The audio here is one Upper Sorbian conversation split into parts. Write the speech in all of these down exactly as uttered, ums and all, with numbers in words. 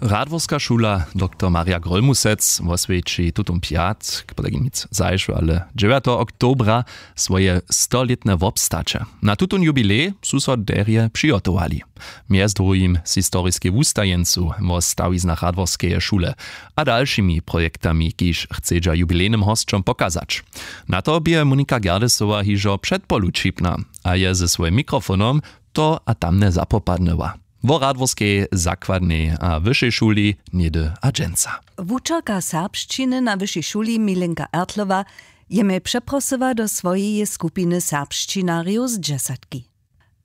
Radworska šula dr marja grólmusec woswjeći tutón pjatk, potajkim nic zašły ale dźewjateho oktobra, swoje stolětne wobstaće. Na tutón jubilej su so derje přihotowali, mjez druhim z historiskej wustajeńcu wo stawiznach radworskeje šule a dalšimi projektami, kiž chcedźa jubilejnym hosćom pokazać. Na to bě monika gerdesowa hižo předpolu ćipna a je ze swojim mikrofonom to a tamne zapopadnyła. Wo radworskej zakładnej a wyšej šuli něhdy a dźensa. Wučerka serbšćiny na wyšej šuli milenka ertlowa je mje přeprosyła do swojeje skupiny serbšćinarjow z dźesatki.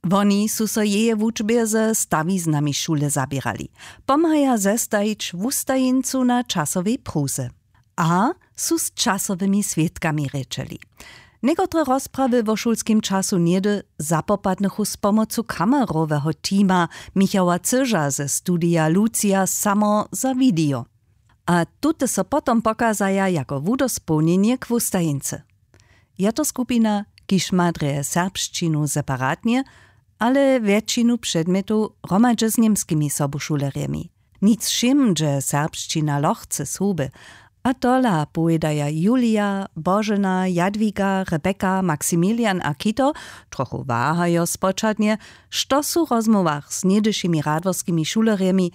Woni su so jeje wučbje ze stawiznami šule zaběrali, pomhaja zestajić wustajeńcu na časowej pruze a su z časowymi swědkami rěčeli. Někotre rozprawy wo šulskim času něhdy zapopadnychu z pomocu kameroweho teama michała cyža ze studija lucija samo za video. A tute so potom pokazaja jako wudospołnjenje k wustajeńcy. Je to skupina, kiž ma drje serbšćinu separatnje, ale wjetšinu předmjetow hromadźe z němskimi sobušulerjemi. Nic wšěm dźe serbšćina lochce z huby. A tola powědaja julija, božena, jadwiga, rebeka, maksimilian a kito, trochu wahajo spočatnje, što su w rozmołwach z něhdyšimi radworskimi šulerjemi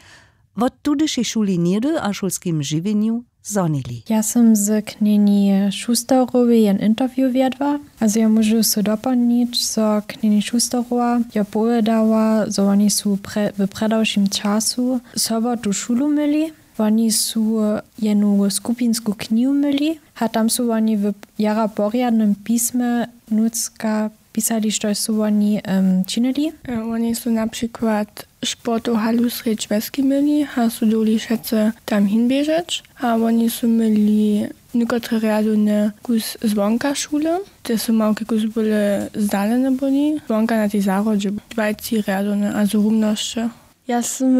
wot tudyšej šuli něhdy a šulskim žiwjenju zhonili. Ja sym z knjeni šusterowej jen interview wjedła. A zo ja móžu so doplnić, zo knjeni šusterowa jo powědała, zo woni su w předawšim času sobotu šulu myli. Woni su jenu skupinsku knihu myli a tam su woni w jara porjadnym pismje nutřka pisali, štož su woni činili. Woni su na přikład sportow halu srjedź wjeski měli a su dowli wšetcy tam hinběžeć. A woni su měli někotre rjadowne kus zwonka šule, te su małki kus byle zdalene byli zwonka na tej zahrodźe. Dwajci rjadowne a zrumnosće. Ja sym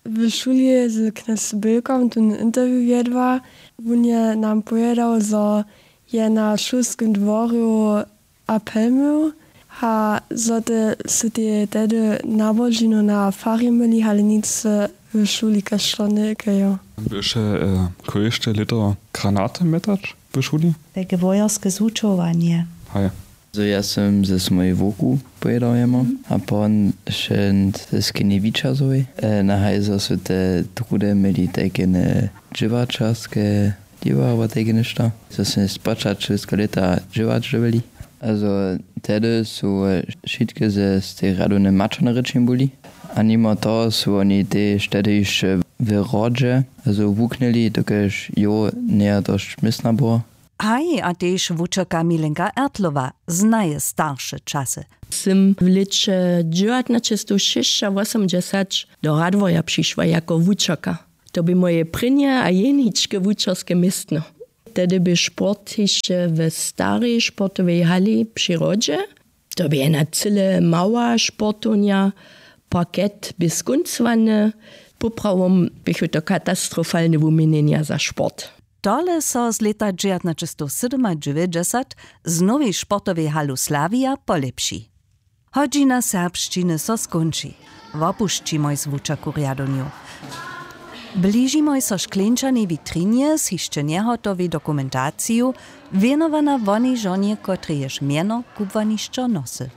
w šuli z knjez bylkom tón interview wjedła. Wón je nam powědał, zo je na šulskim dworju apel měł a zo te su teje tehdy nabožinu na fari myli ale nic w šuli kaž to njekejo. Běše kóžde lěto granaty mjetać w šuli? Tajke wojerske zwučowanje. Haj. Zo ja sym ze swojej wowku pojědał jemu a pon šent ze skinjewičazowej. Na hajzo su te druhdy měli tajkene dźěłaćerske dźěła abo tajke něšto, zo smy spočatk šulskeho lěta dźěłać dyrbjeli. Azo tehdy su wšitke ze stej rjadowne maćerne rěčenje byli. A nimo toho su woni tež tehdy hišće w hrodźe azo wuknyli dokelž jow njeje dosć městna było. Haj a tež wučerka milenka ertlowa znaje starše časy. Sym w lěće dźewjatnaćestowšěsćawosomdźesać do radworja přišła jako wučerka. To bě moje prěnje a jeničke wučerske městno. Tehdy bě sport hišće w starej sportowej hali při hrodźe. To bě jedna cyle mała sportownja. Parket bě skóncowany. Poprawom běchu to katastrofalne wuměnjenja za sport. Tole so z lěta dźewjatnaćestowsydomadźewjećdźesat z nowej sportowej halu slawija polěpši. Hodźina serbšćiny so skónči. Wopušćimoj z wučerku rjadownjow. Bližimoj so škleńčanej witrinje z hišće njehotowej dokumentaciju, wěnowana wonej žonje kotrejež mjeno kubłanišćo nosy.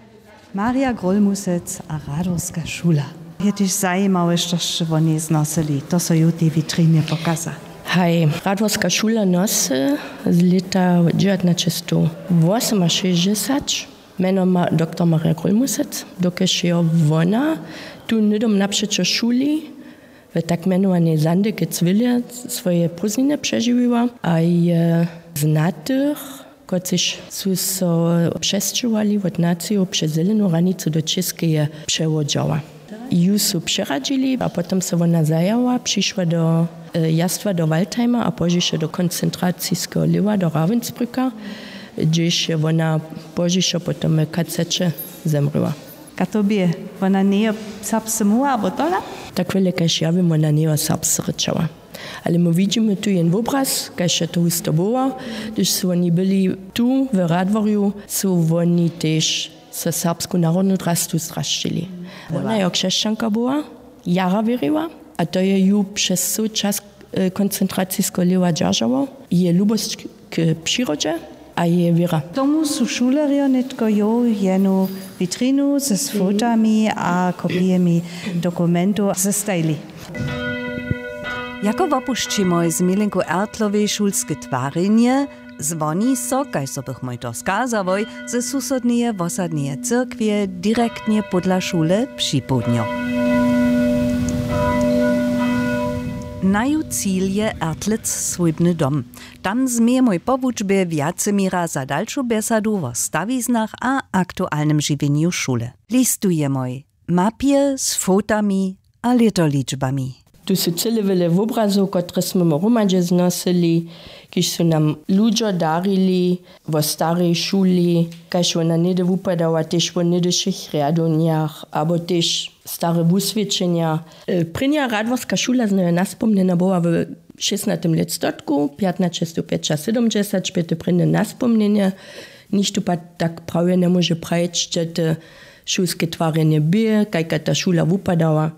Marja grólmusec a radworska šula. Je tež zajimawe što sće wonej znosyli, to so ju w tej witrinje pokaza. Haj, radworska šula nosy z lěta dźewjatnaćestowwosomašěsćdźesać mjeno ma dr marja grólmusec, dokelž je wona tu hnydom napřećo šuli w tak mjenowanej sandekec wille swoje prózdniny přežiwiła a je znatych, kotřiž su so přesćěhowali wot nacijow přez zelenu hranicu do čěskeje, přewodźała. Ju su přeradźili a potom so wona zajała přišła do jastwa do waldheima a pozdźišo do koncentraciskeho lěhwa do ravensbrücka, hdźež je wona pozdźišo potom w kaceće zemrěła. Kaž to bě, wona njejo serbsce móhła abo tola? Tak wjele kaž ja wěm wona njejo serbsce rěčała. Ale my widźimy tu jen wobraz kaž je to husto było, hdyž su woni byli tu w radworju, su woni tež so serbsku narodnu drastu zdrasćili. Wona jo křesćanka była, jara wěriła. A to je ju přez cyły čas koncentraciskeho lěhwa dźeržało, jeje lubosć k přirodźe a jeje wěra. Tomu su šulerjo nětko jow jenu witrinu z fotami a kopijemi dokumentow zestajili. Jako wopušćimoj z Milenku Ertlowej šulske twarjenje, zwoni so, kaž so bychmoj to skazałoj, ze susodneje wosadneje cyrkwje direktnje pódla šule připołdnjo. Naju cil je Ertlec swójbny dom. Tam změjemoj po wučbje wjace měra za dalšu bjesadu wo stawiznach a aktualnym žiwjenju šule. Listujemoj mapje z fotami a lětoličbami. Tu su cyle wjele wobrazow, kotrež smy my hromadźe znosyli, kiž su nam ludźo darili wo starej šuli, kaž wona něhdy wupadała, tež wo něhdyšich rjadownjach abo tež stare wuswědčenja. Prěnja radworska šula znajomnje naspomnjena była w šěsnatym lětstotku, pjatnaćestowpjećasydomdźesać bě to prěnje naspomnjenje. Nichtó pak tak prawje njemóže prajić, hdźe te šulske twarjenje bě, kajka ta šula wupadała.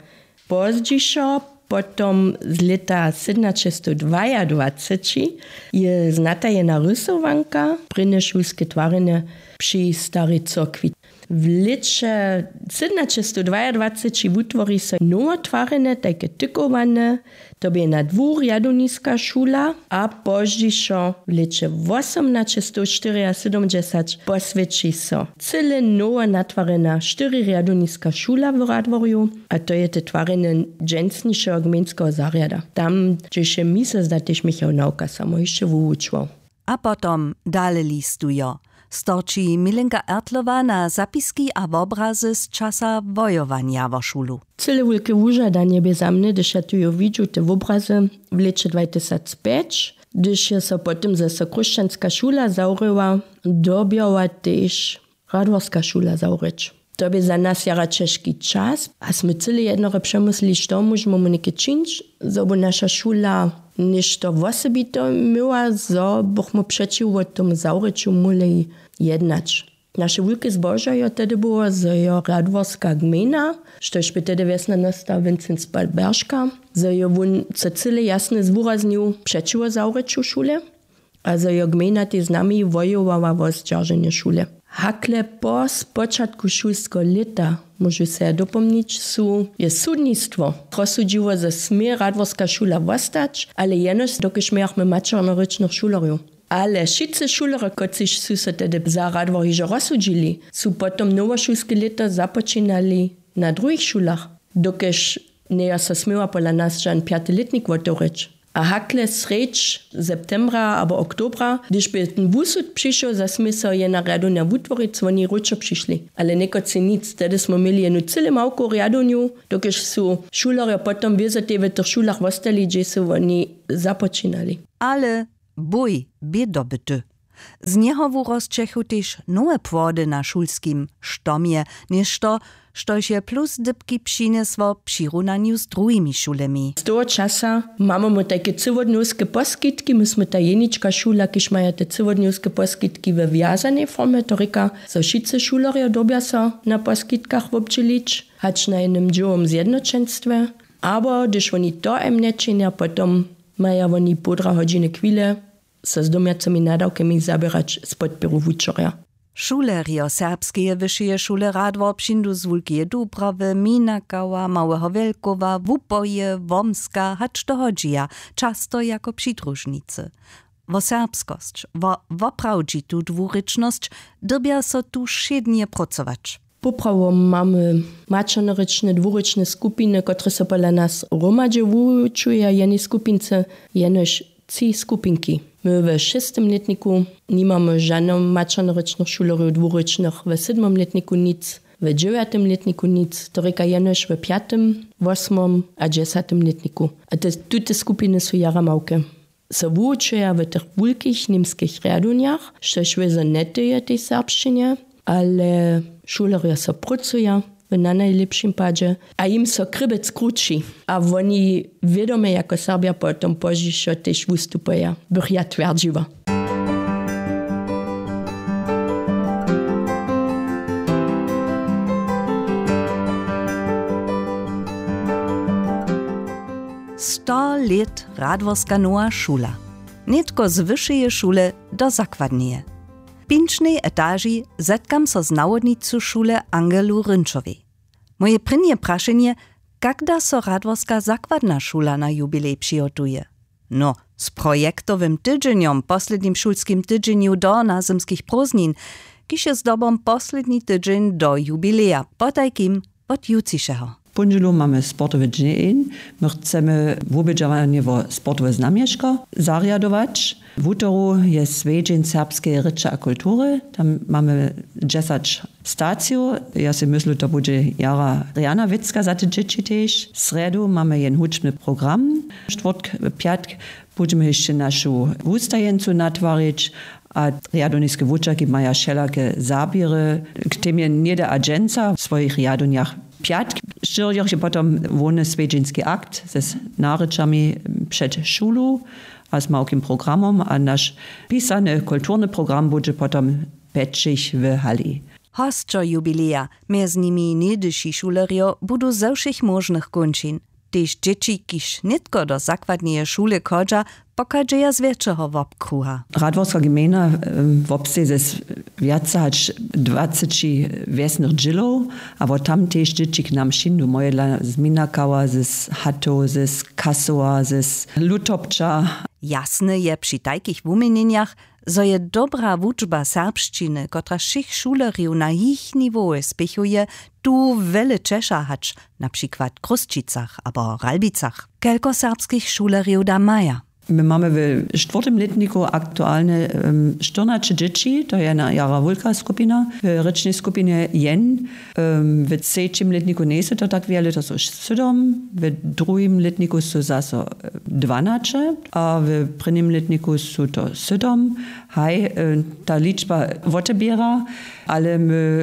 Pozdźišo potom z lěta sydomnaćestowdwajadwaceći je znatajena rysowanka, prěnje šulske twarjenje při starej cyrkwi. W lěće sydomnaćestowdwajadwaceći wutwori so nowe twarjenje, tajke tykowane, to bě na dwurjadowniska šula, a pozdźišo w lěće wosomnaćestowštyriasydomdźesać poswjeći so cyle nowe natwarjena štyrirjadowniska šula w Radworju, a to je te twarjenje dźensnišeho gmejnskeho zarjada. Tam, hdźež je mi so zda tež Michał Nawka samo hišće wuwučował. A potom dale listujo. Storči Milenka Ertlowa na zapiski a wobrazy z časa wojowanja wo šulu. Cyle wulke wužadanje bě za mnje, hdyž ja tu jo widźu te wobrazy w lěće dwatysacpjeć, hdyž je so potom zaso chróšćanska šula zawrěła, dyrbjała tež radworska šula zawrěć. To bě za nas jara ćežki čas a smy cyle jednore přemyslili, što móžemy něke čińć, zo by naša šula něšto wosebite měła, zo bychmy přećiwo tomu zawrěću móhli jednać. Naše wulke zbožo jo tehdy było, zo jo radworska gmejna, štož bě tehdy wjesna nasta Vincenc Balberška, zo jo wón so cyle jasnje zwuraznju přećiwo zawrěću šule. A zo jo gmejna tež z nami wojowała wo zdźerženje šule. Hakle po spočatku šulskeho lěta, móžu so ja dopomnić, su je sudnistwo rozsudźiło, zo smě radworska šula wostać, ale jenož dokelž mějachmy maćernorěčnych šulerjow. Ale wšitcy šulerjo, kotřiž su so tehdy za Radwor hižo rozsudźili, su potom nowošulske lěto započinali na druhich šulach, dokelž njejo so směła pola nas žan pjaty lětnik wotewrěć. A hakle srjedź septembra abo oktobra, hdyž bě ten wusud přišoł, zo smě so jena rjadownja wutworić, su woni wróćo přišli. Ale někotři nic, tehdy smy měli jenu cyle małku rjadownju, dokelž su šulerjo potom wězo tej w tych šulach wostali, hdźež su woni započinali. Ale bój bě dobyty. Z njeho wurosćechu tež nowe płody na šulskim štomje, něšto, štož je plus dypki přinjesło w přirunanju z druhimi šulemi. Z toho časa mamy my tajke cyłodnjowske poskitki, my smy ta jenička šula, kiž maja te cyłodnjowske poskitki we wjazanej formje, to rěka, zo wšitcy šulerjo dyrbja so na poskitkach wobdźělić, hač na jednym dźěłowym zjednoćenstwje, abo hdyž woni to em nječinja, potom maja woni połdra hodźiny chwile so z domjacymi nadawkami zaběrać z podpěru wučerja. Šulerjo Serbskeje wyšeje šule Radwor přińdu z Wulkeje Dubrawy, Minakała, Małeho Wjelkowa, Wupoje, Wormska hač do Hodźeja, často jako přidružnicy. Wo serbskosć, wo woprawdźitu dwurěčnosć dyrbja so tu wšědnje prócować. Poprawom mamy maćernorěčne dwurěčne skupiny, kotrež so pola nas hromadźe wuwučuja. W jenej skupince jenož tři skupinki. My we šěstem lětniku nimamy žano maćernorěčnych šulerjow dwurěčnych, we sydmom lětniku nic, we dźewjatym lětniku nic, to rěka jenož we pjatym, wosmom a dźesatym lětniku. A te, tute skupiny su jara małke. So wuwučuja w tych wulkich němskich rjadownjach, štož wězo njetyje tej serbšćinje, ale šulerjo so prócuja w nanajlěpšim padźe a jim so krěbjec krući a woni wědomje jako Serbja potom pozdźišo tež wustupuja, bych ja twjerdźiła. Sto lět radworska nowa šula, nětko z wyšeje šule do zakładneje. W pinčnej etaži zetkam so z nawodnicu šule Angelu Rynčowej. Moje prěnje prašenje: kak da so radworska zakładna šula na jubilej přihotuje? No, z projektowym tydźenjom, poslednim šulskim tydźenju do nazymskich prózdnin, kiž je zdobom posledni tydźeń do jubileja, potajkim wot jutřišeho. W póndźelu mamy sportowy dźeń. My chcemy wubědźowanje wo sportowe znamješko zarjadować. Wutoru je swjedźeń serbskeje rěče a kultury, tam mamy dźesać stacijow. Ja sej myslu, to budźe jara rjana wěcka za te dźěći tež. Srjedu mamy jen hudźbny program, štwórtk, pjatk budźemy hišće našu wustajeńcu natwarić. A rjadowniske wučerki maja wšelake zaběry, k temje něhdy a dźensa w swojich rjadownjach. Pjatk, štyrjoch je potom hłowny swjedźeński akt z narěčami před šulu a z małkim programom, a naš pisany kulturny program budźe potom pjećich w hali. Hosćo jubileja, mjez nimi něhdyši šulerjo, budu ze wšěch móžnych kónčin. Tež dźěći, kiž nětko do zakładneje šule chodźa, pochadźeja z wjetšeho wobkruha. Radworska gmejna wobsteji ze wjace hač dwaceći wjesnych dźělow, a wot tam tež dźěći k nam přińdu, mojedla z Minakawa, z Hatow, z Kasowa, z Lutopča. Jasne je při tajkich wuměnjenjach, zo je dobra wučba serbšćiny, kotraž wšěch šulerjow na jich niwowje spěchuje, tu wjele ćeša hač na přikład w Chrósćicach abo Ralbicach. Kelko serbskich šulerjow da maja? My mamy w štwórtym lětniku aktualnje štyrnaće dźěći, to je na jara wulka skupina. W rěčnej skupinje jen. W třećim lětniku njejsu to tak wjele, to su sydom, w druhim lětniku su zaso dwanaće a w prěnim lětniku su to sydom. Haj, ta ličba woteběra, ale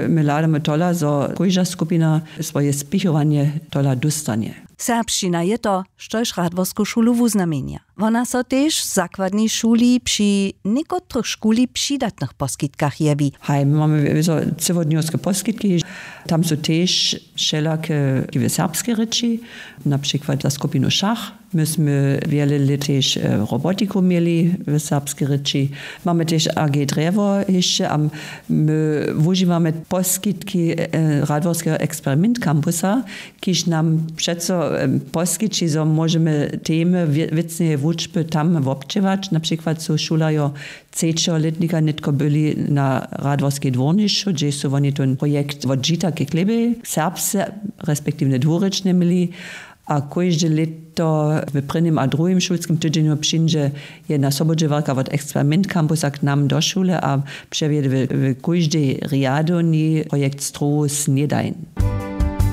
my hladamy tola, zo kóžda skupina swoje spěchowanje tola dóstanje. Serbšćina je to, štož radworsku šulu wuznamjenja. Wona so tež w zakładnej šuli při někotrych šuli přidatnych poskitkach jewi. Haj, my mamy wězo cyłodnjowske poskitki. Tam su tež wšelake w serbskej rěči, na přikład za skupinu šach. My smy wjele lět tež robotiku měli w serbskej rěči. Mamy tež a g drjewo hišće a my wužiwamy poskitki radworskeho eksperiment kampusa, kiž nam přeco poskići, zo móžemy temy wěcneje wučby tam wobdźěłać. Na přikład su šulerjo třećeho lětnika nětko byli na radworskej dwórnišću, hdźež su woni tón projekt wot žita k chlěbjej serbsce respektiwnje dwurěčnje měli. A kóžde lěto w prěnim a druhim šulskim tydźenju přińdźe jedna sobudźěłarka wot eksperiment kampusa k nam do šule a přewjede w kóždej rjadownji projekt strowow snědajn.